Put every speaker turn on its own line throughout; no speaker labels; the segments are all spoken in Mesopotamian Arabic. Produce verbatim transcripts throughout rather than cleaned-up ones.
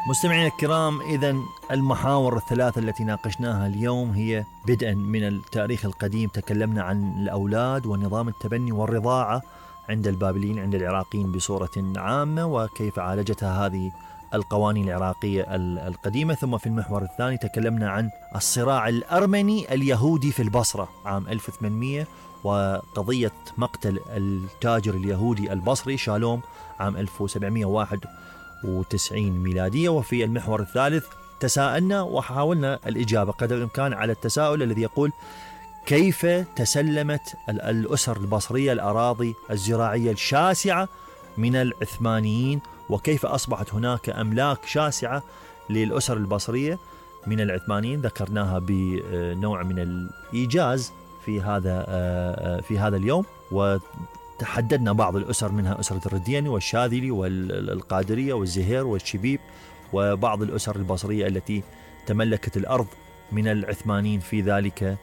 مستمعينا الكرام، إذن المحاور الثلاثة التي ناقشناها اليوم هي بدءا من التاريخ القديم، تكلمنا عن الأولاد ونظام التبني والرضاعة عند البابليين عند العراقيين بصورة عامة وكيف عالجتها هذه القوانين العراقية القديمة. ثم في المحور الثاني تكلمنا عن الصراع الأرمني اليهودي في البصرة عام ألف وثمانمئة وقضية مقتل التاجر اليهودي البصري شالوم عام ألف وسبعمئة وواحد وتسعين ميلادية. وفي المحور الثالث تساءلنا وحاولنا الإجابة قدر الإمكان على التساؤل الذي يقول: كيف تسلمت الأسر البصرية الأراضي الزراعية الشاسعة من العثمانيين، وكيف أصبحت هناك أملاك شاسعة للأسر البصرية من العثمانيين؟ ذكرناها بنوع من الإيجاز في هذا في هذا اليوم، وتحددنا بعض الأسر منها أسرة الردياني والشاذلي والقادرية والزهير والشبيب وبعض الأسر البصرية التي تملكت الأرض من العثمانيين في ذلك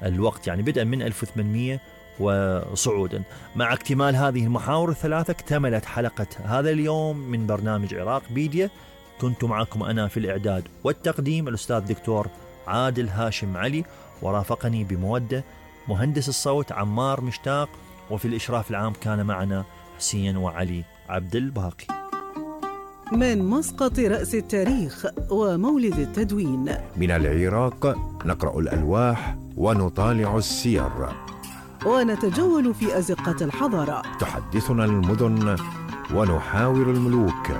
الوقت، يعني بدءا من ألف وثمانمئة وصعودا. مع اكتمال هذه المحاور الثلاثة اكتملت حلقة هذا اليوم من برنامج عراق بيديا. كنت معكم أنا في الإعداد والتقديم الأستاذ دكتور عادل هاشم علي، ورافقني بمودة مهندس الصوت عمار مشتاق، وفي الإشراف العام كان معنا حسين وعلي عبد الباقي.
من مسقط رأس التاريخ ومولد التدوين،
من العراق نقرأ الألواح ونطالع السير
ونتجول في أزقة الحضارة.
تحدثنا المدن ونحاور الملوك،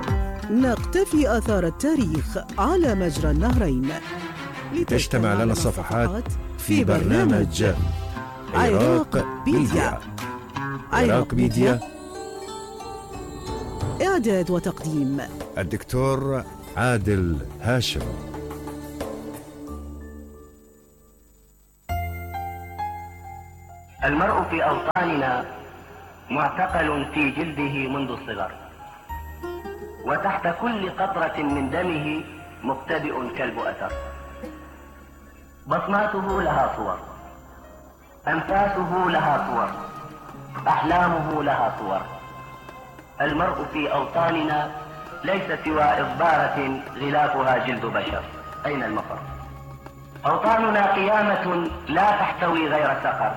نقتفي آثار التاريخ على مجرى النهرين،
تجتمع لنا الصفحات في برنامج عراق بيديا. عراق بيديا،
إعداد وتقديم
الدكتور عادل هاشم.
المرء في أوطاننا معتقل في جلده منذ الصغر، وتحت كل قطرة من دمه مبتدئ كلب أثر. بصماته لها صور، أنفاسه لها صور، أحلامه لها صور. المرء في أوطاننا ليس سوى إضبارة غلافها جلد بشر. أين المفر؟ أوطاننا قيامة لا تحتوي غير سقر،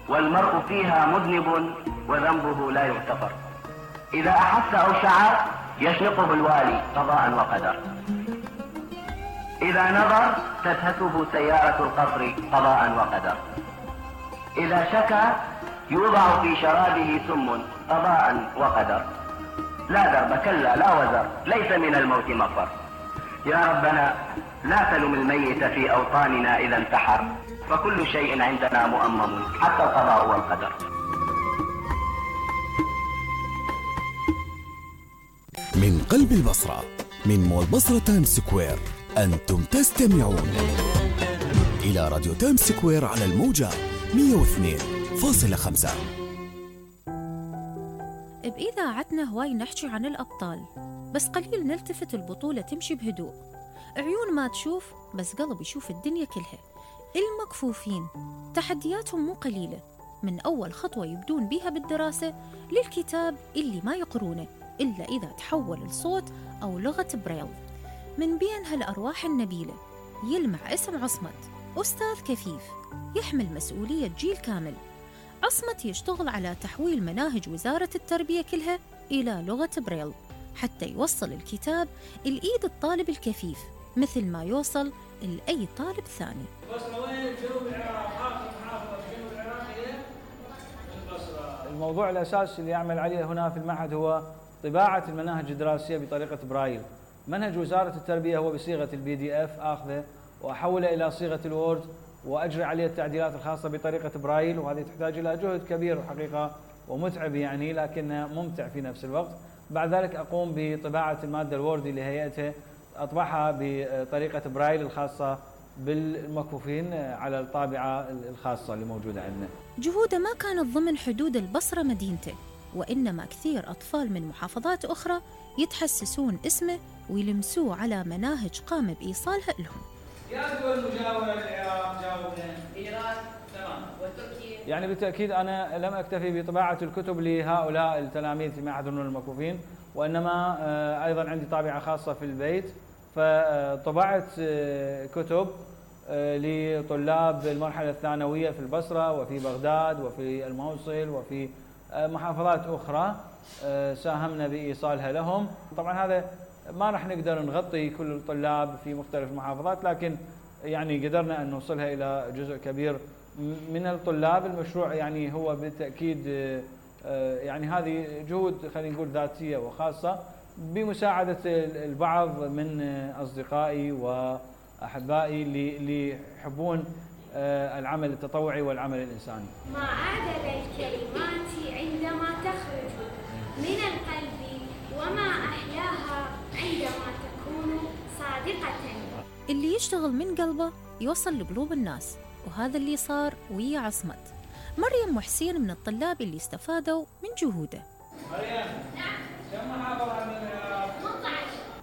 والمرء فيها مذنب وذنبه لا يغتفر. إذا أحس أو شعر يشنقه الوالي قضاء وقدر، إذا نظر تدهسه سيارة القصر قضاء وقدر، إذا شكى يوضع في شرابه سم قضاء وقدر. لا درب كلا لا وزر، ليس من الموت مفر. يا ربنا لا تلم الميت في أوطاننا إذا انتحر، فكل شيء عندنا مؤمم حتى القضاء والقدر.
من قلب البصرة، من مول بصرة تايمز سكوير، أنتم تستمعون إلى راديو تايمز سكوير على الموجة مئة واثنين فاصلة خمسة.
بإذاعتنا هواي نحكي عن الأبطال، بس قليل نلتفت البطولة تمشي بهدوء. عيون ما تشوف بس قلب يشوف الدنيا كلها. المكفوفين تحدياتهم مو قليلة، من أول خطوة يبدون بيها بالدراسة للكتاب اللي ما يقرونه إلا إذا تحول لصوت أو لغة بريل. من بين هالأرواح النبيلة يلمع اسم عصمت، أستاذ كفيف يحمل مسؤولية جيل كامل. عصمت يشتغل على تحويل مناهج وزارة التربية كلها إلى لغة بريل حتى يوصل الكتاب الإيد الطالب الكفيف مثل ما يوصل لأي طالب ثاني.
الموضوع الأساسي اللي يعمل عليه هنا في المعهد هو طباعة المناهج الدراسية بطريقة برايل. منهج وزارة التربية هو بصيغة البي دي اف آخذه وأحوله إلى صيغة الوورد وأجري عليه التعديلات الخاصة بطريقة برايل، وهذه تحتاج إلى جهد كبير وحقيقة ومتعب يعني، لكنه ممتع في نفس الوقت. بعد ذلك أقوم بطباعة المادة الوردي لهيئته، أطبعها بطريقة برايل الخاصة بالمكفوفين على الطابعة الخاصة اللي موجودة عندنا.
جهوده ما كانت ضمن حدود البصرة مدينته، وإنما كثير أطفال من محافظات أخرى يتحسسون اسمه ويلمسوه على مناهج قام بإيصالها لهم.
يا دول مجاورة للعراق جاوبنا.
إيران تمام، وتركيا.
يعني بالتأكيد أنا لم أكتفي بطباعة الكتب لهؤلاء التلاميذ في معهد الفنون المكفوفين، وإنما أيضا عندي طابعة خاصة في البيت، فطبعت كتب لطلاب المرحلة الثانوية في البصرة وفي بغداد وفي الموصل وفي محافظات أخرى ساهمنا بإيصالها لهم. طبعا هذا ما راح نقدر نغطي كل الطلاب في مختلف المحافظات، لكن يعني قدرنا أن نوصلها إلى جزء كبير من الطلاب. المشروع يعني هو بالتأكيد يعني هذه جهود خلينا نقول ذاتية وخاصة بمساعدة البعض من أصدقائي وأحبائي اللي يحبون العمل التطوعي والعمل الإنساني.
ما أعدل الكلمات عندما تخرج من القلب، وما أحلاها عندما تكون صادقة.
اللي يشتغل من قلبه يوصل لقلوب الناس، وهذا اللي صار ويا عصمت. مريم وحسين من الطلاب اللي استفادوا من جهوده.
مريم، نعم، كم محافظة من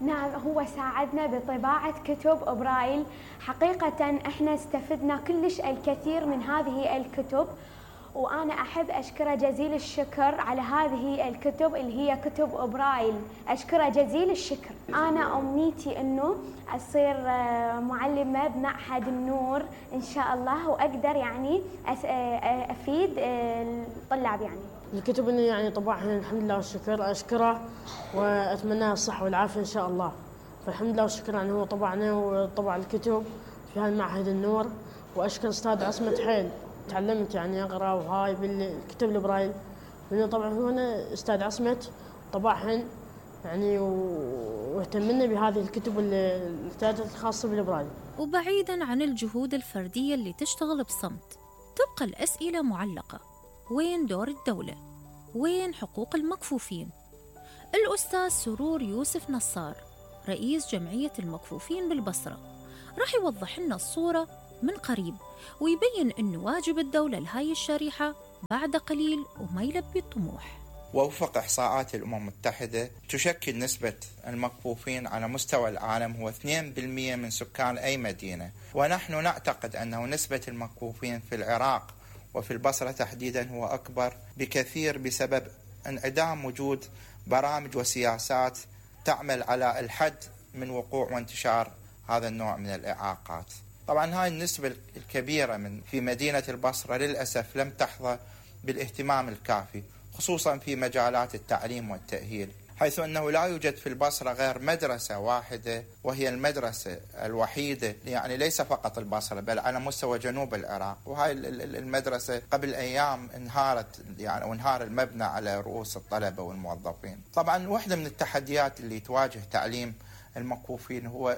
نعم، هو ساعدنا بطباعة كتب برايل. حقيقة احنا استفدنا كلش الكثير من هذه الكتب، وأنا أحب أشكره جزيل الشكر على هذه الكتب اللي هي كتب برايل. أشكره جزيل الشكر. أنا أمنيتي أنه أصير معلمة بمعهد النور إن شاء الله، وأقدر يعني أفيد الطلاب. يعني
الكتب اللي يعني طبعها الحمد لله والشكر أشكره، وأتمنى الصحة والعافية إن شاء الله. فالحمد لله والشكر يعني هو طبعنا وطبع الكتب في هذا المعهد النور. وأشكر أستاذ عصمت حيل، تعلمت يعني أقرأ وهاي بالكتب البرايل، لأنه طبعا هو أنا أستاذ عصمت طبعهن يعني واهتمنا بهذه الكتب الكتابات الخاصة بالبرايل.
وبعيداً عن الجهود الفردية اللي تشتغل بصمت، تبقى الأسئلة معلقة: وين دور الدولة؟ وين حقوق المكفوفين؟ الأستاذ سرور يوسف نصار رئيس جمعية المكفوفين بالبصرة راح يوضح لنا الصورة من قريب، ويبين أنه واجب الدولة لهاي الشريحة بعد قليل وما يلبي الطموح.
ووفق إحصاءات الأمم المتحدة تشكل نسبة المكفوفين على مستوى العالم هو اثنين بالمئة من سكان أي مدينة، ونحن نعتقد أنه نسبة المكفوفين في العراق وفي البصرة تحديدا هو أكبر بكثير بسبب انعدام وجود برامج وسياسات تعمل على الحد من وقوع وانتشار هذا النوع من الإعاقات. طبعا هاي النسبة الكبيرة من في مدينة البصرة للأسف لم تحظى بالاهتمام الكافي، خصوصا في مجالات التعليم والتأهيل، حيث أنه لا يوجد في البصرة غير مدرسة واحدة، وهي المدرسة الوحيدة يعني ليس فقط البصرة بل على مستوى جنوب العراق. وهاي المدرسة قبل أيام انهارت يعني وانهار المبنى على رؤوس الطلبة والموظفين. طبعا واحدة من التحديات اللي تواجه تعليم المكفوفين هو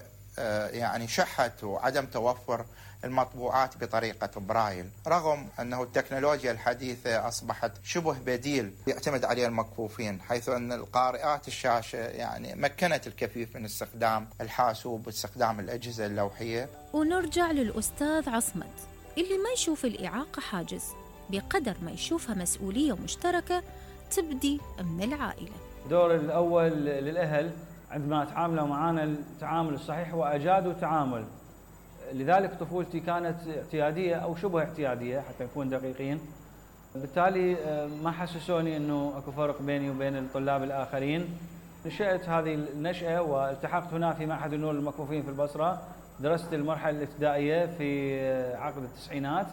يعني شحة وعدم توفر المطبوعات بطريقة برايل، رغم أنه التكنولوجيا الحديثة أصبحت شبه بديل يعتمد عليه المكفوفين، حيث أن القارئات الشاشة يعني مكنت الكفيف من استخدام الحاسوب واستخدام الأجهزة اللوحية.
ونرجع للأستاذ عصمت اللي ما يشوف الإعاقة حاجز بقدر ما يشوفها مسؤولية مشتركة تبدي من العائلة.
دور الأول للأهل عندما تعاملوا معنا التعامل الصحيح وأجادوا التعامل. لذلك طفولتي كانت اعتيادية أو شبه اعتيادية حتى نكون دقيقين، بالتالي ما حسسوني أنه أكو فرق بيني وبين الطلاب الآخرين. نشأت هذه النشأة والتحقت هنا في معهد النور للمكفوفين في البصرة. درست المرحلة الابتدائية في عقد التسعينات،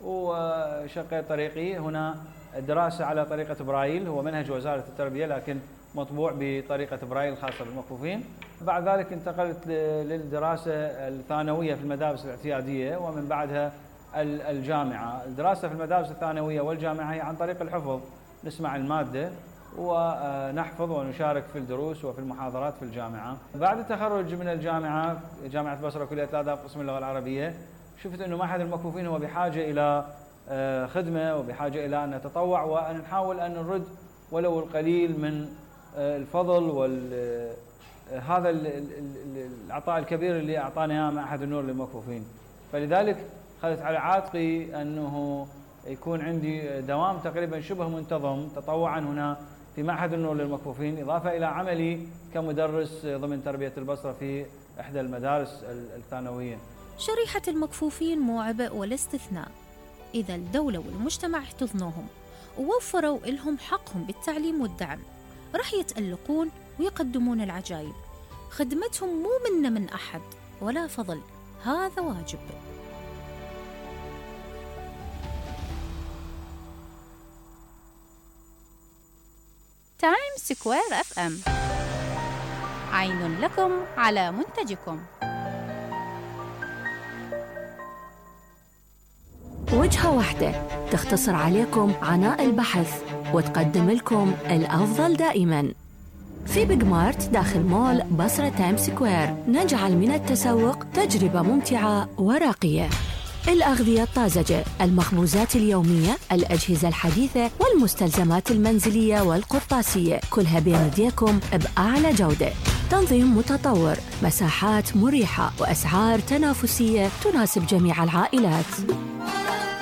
وشقيت طريقي هنا الدراسة على طريقة برايل، هو منهج وزارة التربية لكن مطبوع بطريقة برايل خاصة بالمكفوفين. بعد ذلك انتقلت للدراسة الثانوية في المدارس الاعتيادية، ومن بعدها الجامعة. الدراسة في المدارس الثانوية والجامعة هي عن طريق الحفظ، نسمع المادة ونحفظ ونشارك في الدروس وفي المحاضرات في الجامعة. بعد التخرج من الجامعة، جامعة البصرة كلية الآداب قسم اللغة العربية، شفت أنه معهد المكفوفين هو بحاجة إلى خدمة وبحاجة إلى أن نتطوع وأن نحاول أن نرد ولو القليل من الفضل وال هذا العطاء الكبير اللي أعطانا إياه معهد النور للمكفوفين. فلذلك خذت على عاتقي أنه يكون عندي دوام تقريبا شبه منتظم تطوعا هنا في معهد النور للمكفوفين، إضافة إلى عملي كمدرس ضمن تربية البصرة في إحدى المدارس الثانوية.
شريحة المكفوفين مو عبء ولا استثناء إذا الدولة والمجتمع احتضنوهم ووفروا لهم حقهم بالتعليم والدعم. راح يتألقون ويقدمون العجائب. خدمتهم مو منا من أحد ولا فضل، هذا واجب.
تايم سكوير اف ام، عين لكم على منتجكم.
وجهة واحدة تختصر عليكم عناء البحث وتقدم لكم الأفضل دائماً. في بيج مارت داخل مول بصرة تايم سكوير نجعل من التسوق تجربة ممتعة وراقية. الأغذية الطازجة، المخبوزات اليومية، الأجهزة الحديثة والمستلزمات المنزلية والقرطاسية، كلها بين يديكم بأعلى جودة. تنظيم متطور، مساحات مريحة وأسعار تنافسية تناسب جميع العائلات.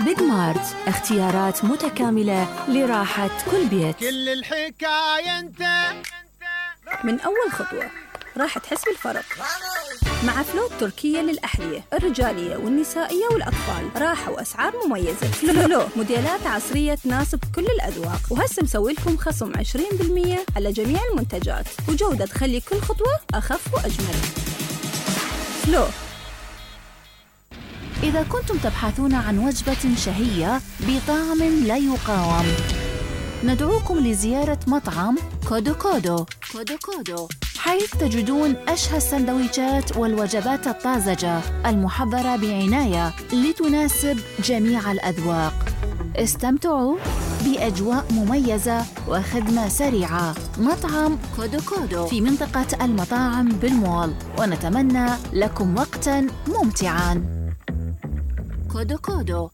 بيج مارت، اختيارات متكاملة لراحة كل بيت.
كل الحكاية انت.
من أول خطوة راح تحس بالفرق مع فلو التركية للأحذية الرجالية والنسائية والأطفال. راحة وأسعار مميزة. فلو موديلات عصرية تناسب كل الأذواق، وهسه مسوي لكم خصم عشرين بالمية على جميع المنتجات، وجودة تخلي كل خطوة أخف وأجمل. فلو.
إذا كنتم تبحثون عن وجبة شهية بطعم لا يقاوم، ندعوكم لزيارة مطعم كودو كودو كودو كودو، حيث تجدون أشهى السندويشات والوجبات الطازجة المحضرة بعناية لتناسب جميع الأذواق. استمتعوا بأجواء مميزة وخدمة سريعة. مطعم كودو كودو في منطقة المطاعم بالمول، ونتمنى لكم وقتاً ممتعاً. كودو كودو.